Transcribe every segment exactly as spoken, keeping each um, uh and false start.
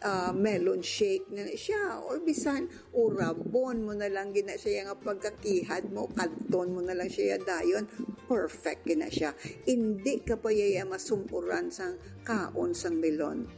ah, melon shake na siya, or bisan urabon mo na lang gina siya nga pagkakihad mo, kadton mo na lang siya dayon, perfect gina siya. Hindi ka pa yaya masumuran sang kaon sang melon.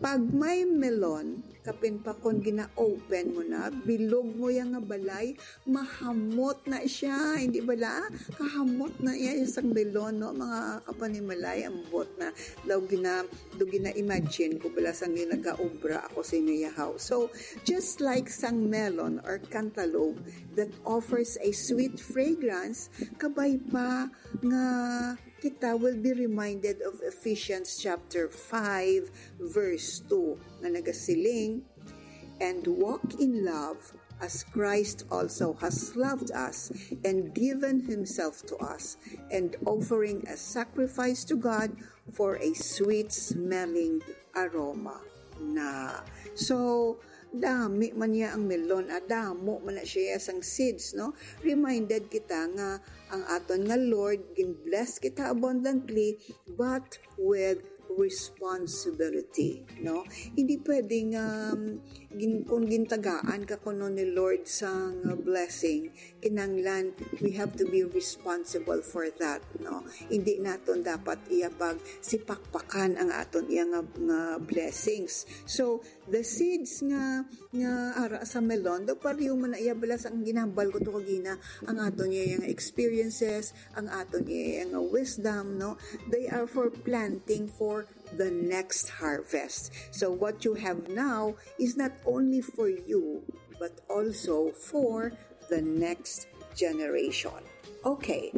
Pag may melon, kapin pa kon gina-open mo na, bilog mo ya nga balay, mahamot na siya, hindi bala? Kahamot na iya sang melon, no? Mga kapanimalay, ambot na. Daw gina, do gina-imagine ko bala sang ginagaobra ako sa inyo yahaw. So, just like sang melon or cantaloupe that offers a sweet fragrance, kabay pa nga kita will be reminded of Ephesians chapter five, verse two, nga nagasiling, "And walk in love as Christ also has loved us and given himself to us, and offering a sacrifice to God for a sweet-smelling aroma." Na. So, dami man niya ang melon, ah, damo man na siya sang seeds, no? Reminded kita nga ang aton nga Lord, gin-bless kita abundantly, but with responsibility, no? Hindi pwedeng, um, gin-, kung gintagaan ka kuno ni Lord sang, uh, blessing, kinanglan we have to be responsible for that, no? Hindi naton dapat iya pag sipakpakan ang aton iya nga, nga blessings. So, the seeds nga, nga ara sa melon, daw pareho man na iya bala sa ang ginambal ko to kagina, ang aton iya nga experiences, ang aton iya nga wisdom, no? They are for planting for the next harvest. So what you have now is not only for you, but also for the next generation. Okay,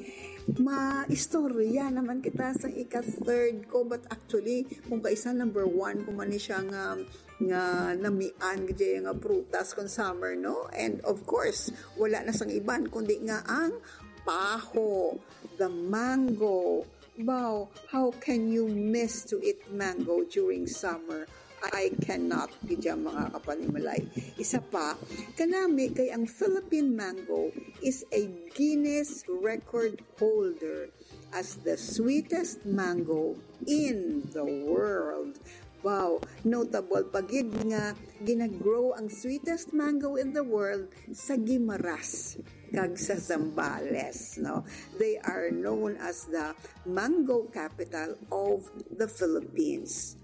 maistorya naman kita sa ika-third ko, but actually, kung kaisa number one ko man ni siya nga, nga namian gid nga prutas kon summer, no? And of course, wala na sang iban, kundi nga ang paho, the mango. Wow, how can you miss to eat mango during summer? I cannot, gid ya, mga kapanimalay. Isa pa, kanami kay ang Philippine mango is a Guinness Record holder as the sweetest mango in the world. Wow, notable pa gid nga ginagrow ang sweetest mango in the world sa Guimaras kag sa Zambales, no? They are known as the mango capital of the Philippines.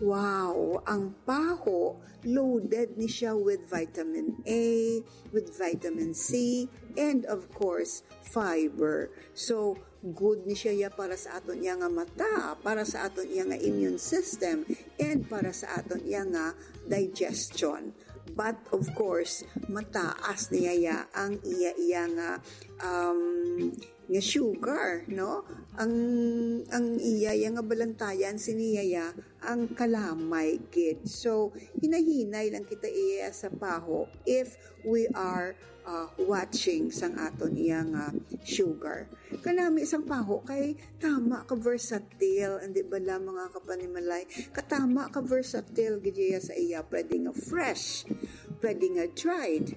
Wow, ang paho, loaded ni siya with vitamin A, with vitamin C, and of course, fiber. So, good ni siya ya para sa aton iya nga mata, para sa aton iya nga immune system, and para sa aton iya nga digestion. But of course, mataas niya ya ang iya iya nga, um, nga sugar, no? Ang, ang iya iya nga balantayan sini ya ang kalamay gid. So, hinay-hinay lang kita iya sa paho if we are, uh, watching sang aton iya nga sugar. Kanami sang paho kay tama ka versatile, hindi bala, mga kapanimalay? Katama ka versatile gid iya sa iya. Pwede nga fresh, pwede nga dried,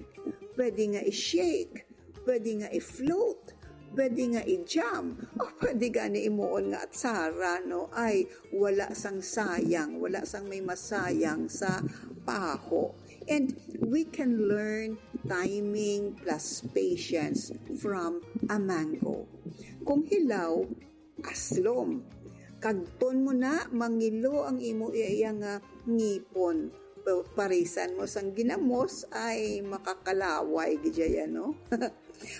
pwede nga i-shake, pwede nga i-float, pwede nga i-jam, o pwede gani imuon nga atsara, no? Ay, wala sang sayang, wala sang may masayang sa paho. And we can learn timing plus patience from a mango. Kung hilaw, aslom. Kadton mo na, mangilo ang imo iya nga ngipon. Pa-, parisan mo sang ginamos, ay makakalaway gid ya, no?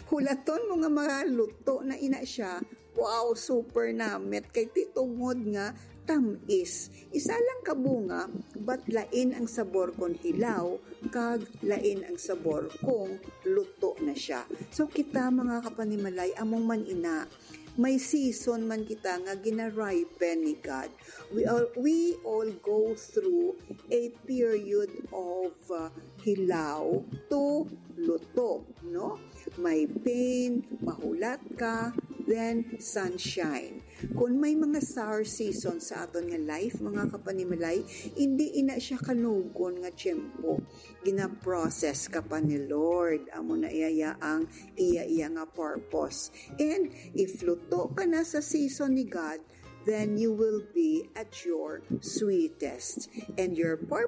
Hulaton mo nga maluto na ina siya. Wow, super namit kay ti tungod nga tamis. Isa lang ka bunga, but lain ang sabor kon hilaw, kag lain ang sabor kung luto na siya. So kita, mga kapanimalay, among man ina, may season man kita nga ginaripen ni God. We all, we all go through a period of, uh, hilaw to luto, no? May pain, mahulat ka, then sunshine. Kung may mga sour season sa aton nga life, mga kapanimalay, hindi ina siya kanugon nga tiyempo. Gina-process ka pa ni Lord. Amo na iya ang iya iya nga purpose. And if luto ka na sa season ni God, then you will be at your sweetest. And your purpose